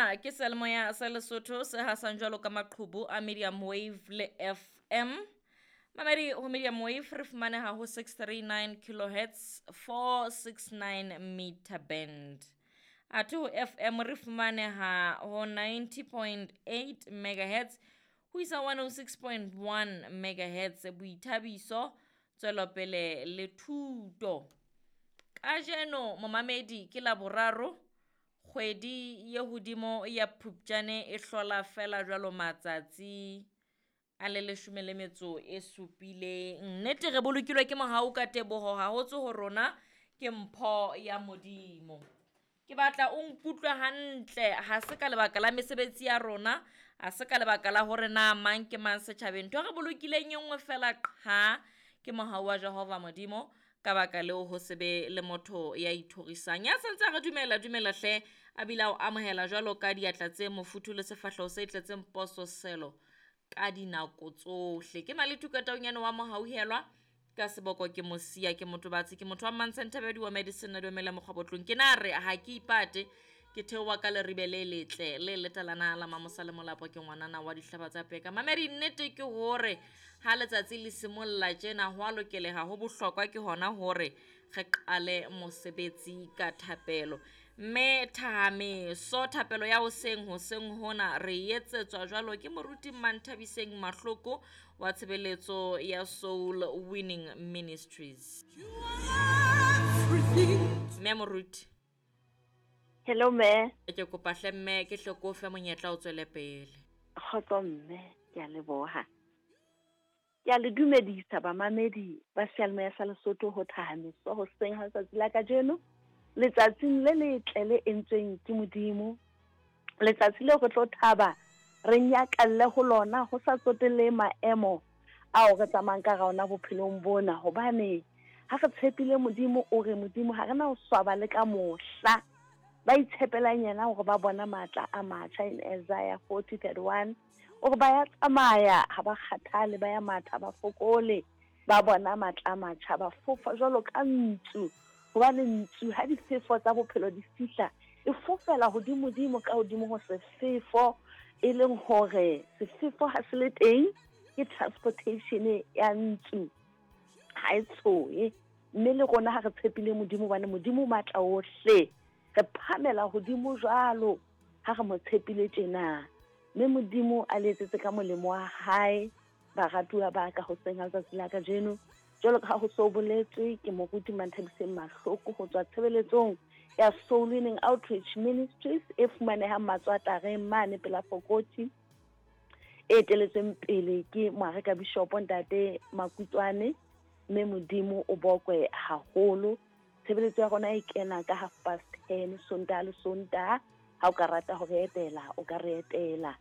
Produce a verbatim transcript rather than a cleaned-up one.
Sena ke seyalemoya sa Lesotho se hasang jwalo ka maqhubu a medium wave le F M. Mamedi, ho medium wave re fumaneha ho six three nine kilohertz, four six nine meter band. Athe ho F M re fumaneha ho ninety point eight megahertz ho isa one oh six point one megahertz. Boithabiso, tswelopele le thuto. Kajeno momamedi ke Laboraro, kgwedi ye hodimo ya Phupjane e hlola fela jwalo matsatsi a le leshome le metso e supileng. Nnete re bolokilwe ke mohau ka teboho, ha ho tswe ho rona, ke mpho ya Modimo. Ke batla o nkutlwe hantle, ha se ka lebaka la mesebetsi ya rona, ha se ka lebaka la hore na mang ke mang setjhabeng. Ntho e re bolokileng e nngwe fela qha, ke mohau wa Jehova Modimo. Ka baka leo ho se be le motho ya ithorisang. Ya santse a re dumela, dumela hle, a bile a o amohela jwalo ka diatla tse mofuthu le sefahleho se tletseng pososelo ka dinako tsohle. Ke Maletu Kataunyane wa Mohauhelwa, ka seboko ke Mosia, ke motho batsi, ke motho wa Mantshenthabedi wa Medicine a dumela mokgwabotlong. Ke na re ha ke ipate, ke theoha ka leribe le letle le letalana la Mamosa le Molapo, ke ngwanana wa dihlaba tsa peka. Mamedi, nnete ke hore ha letsatsi le simolla tjena ho a lokeleha, ho bohlokwa ke hona hore re qale mosebetsi ka thapelo. Mme thahameso thapelo ya hoseng hoseng hona re etsetswa jwalo ke moruti Manthabiseng Mahloko wa tshebeletso ya Soul Winning Ministries. Mme moruti. Hello mme. Ke kopa hle mme ke hle ko fe monyetla o tswele pele. Kgotso mme, ke a leboha. Ke a le dumedisa bamamedi ba seyalemoya sa Lesotho ho thahameso hoseng ha letsatsi la kajeno. Letsatsing le letle le entsweng ke Modimo. Letsatsi leo re tlo thaba re nyakalle ho lona ho sa tsotelle maemo ao re tsamayang ka ona bophelong bona, hobane ha re tshepile Modimo, o re Modimo ha re na ho swaba le ka mohla. Ba itshepelang yena hore ba bona matla a matjha in Isaiah forty thirty-one. O re ba ya tsamaya ha ba kgathale, ba ya matha ba fokole, ba bona matla a matjha, ba fofa jwalo ka ntsu. Hobane ntsu ha difefo tsa bophelo di fihla, e fofela hodimodimo ka hodimo ho sefefo, e leng hore sefefo ha se le teng ke transportation ya ntsu ha e tshohe. Mme le rona ha re tshepile Modimo, hobane Modimo o matla ohle, re phamela hodimo jwalo ha re mo tshepile tjena. Mme Modimo a le etsetse ka molemo wa hae, baratuwa ba ka hoseng ha letsatsi la kajeno. Jwalo ka ha ho so boletswe ke moruti Manthabiseng Mahloko ho tswa tshebeletsong ya Soul Winning Outreach Ministries e fumanehang Matswatareng mane pela Fokoti, e eteletsweng pele ke Moareka Bishopo Ntate Makutswane. Mme Modimo o bokwe haholo. Tshebeletso ya rona e kena ka half past ten Sontaha le Sontaha. Ha o ka rata ho re etela, o ka re etela.